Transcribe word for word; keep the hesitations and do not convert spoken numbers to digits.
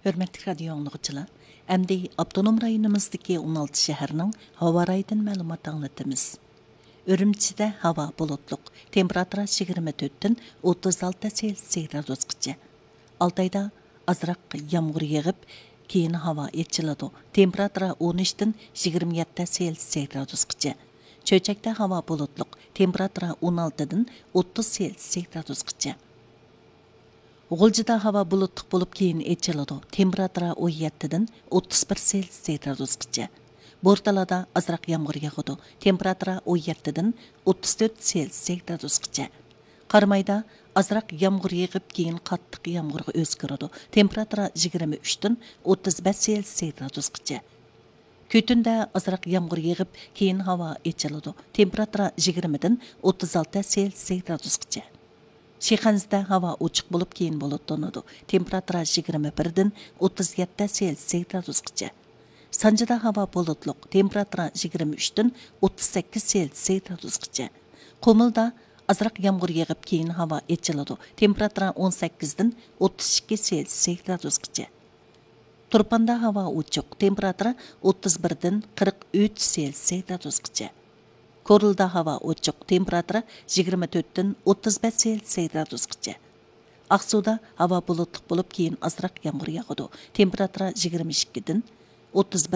ھۆرمەتلىك رادىيو ئاڭلىغۇچىلار، ئەمدى ئاپتونوم رايونىمىزدىكى ئون ئالتە شەھەرنىڭ ھاۋا رايىدىن مەلۇمات ئاڭلىتىمىز. ئۈرۈمچىدە ھاۋا بۇلۇتلۇق، تېمپېراتۇرا يىگىرمە تۆتتىن ئوتتۇز ئالتە سېلسىيە گرادۇسقىچە. ئالتايدا ئازراق يامغۇر يېغىپ، كېيىن ھاۋا ئېچىلىدۇ. تېمپېراتۇرا ئون ئۈچتىن يىگىرمە يەتتە سېلسىيە گرادۇسقىچە. چۆچەكتە ھاۋا بۇلۇتلۇق، تېمپېراتۇرا ئون ئالتىدىن ئوتتۇز سېلسىيە گرادۇسقىچە. غۇلجىدا ھاۋا بۇلۇتلۇق بولۇپ، كېيىن ئېچىلىدۇ. تېمپېراتۇرا ئون يەتتىدىن ئوتتۇز بىر سېلسىيە گرادۇسقىچە. بورتالادا ئازراق يامغۇر ياغىدۇ. تېمپېراتۇرا ئون يەتتىدىن ئوتتۇز تۆت سېلسىيە گرادۇسقىچە. قارامايدا ئازراق يامغۇر يېغىپ، كېيىن قاتتىق يامغۇرغا ئۆزگىرىدۇ. تېمپېراتۇرا يىگىرمە ئۈچتىن ئوتتۇز بەش سېلسىيە گرادۇسقىچە. كۈتۈندە ئازراق يامغۇر يېغىپ، كېيىن ھاۋا ئېچىلىدۇ. تېمپېراتۇرا يىگىرمىدىن ئوتتۇز ئالتە سېلسىيە گرادۇسقىچە. شىخەنزىدە ھاۋا ئوچۇق بولۇپ، كېيىن بۇلۇتلىنىدۇ. تېمپېراتۇرا يىگىرمە بىردىن ئوتتۇز يەتتە سېلسىيە گرادۇسقىچە. سانجىدا ھاۋا بۇلۇتلۇق، تېمپېراتۇرا يىگىرمە ئۈچتىن ئوتتۇز سەككىز سېلسىيە گرادۇسقىچە. قۇمۇلدا ئازراق يامغۇر يېغىپ، كېيىن ھاۋا ئېچىلىدۇ. تېمپېراتۇرا ئون سەككىزدىن ئوتتۇز ئىككى سېلسىيە گرادۇسقىچە. تۇرپاندا ھاۋا ئوچۇق، تېمپېراتۇرا ئوتتۇز بىردىن قىرىق ئۈچ سېلسىيە گرادۇسقىچە. كورلىدا ھاۋا ئوچۇق، تېمپېراتۇرا يىگىرمە تۆتتىن ئوتتۇز بەش سېلسىيە گرادۇسقىچە. ئاقسۇدا ھاۋا بۇلۇتلۇق بولۇپ، كېيىن ئازراق يامغۇر ياغىدۇ. تېمپېراتۇرا يىگىرمە ئىككىدىن ئوتتۇز بىر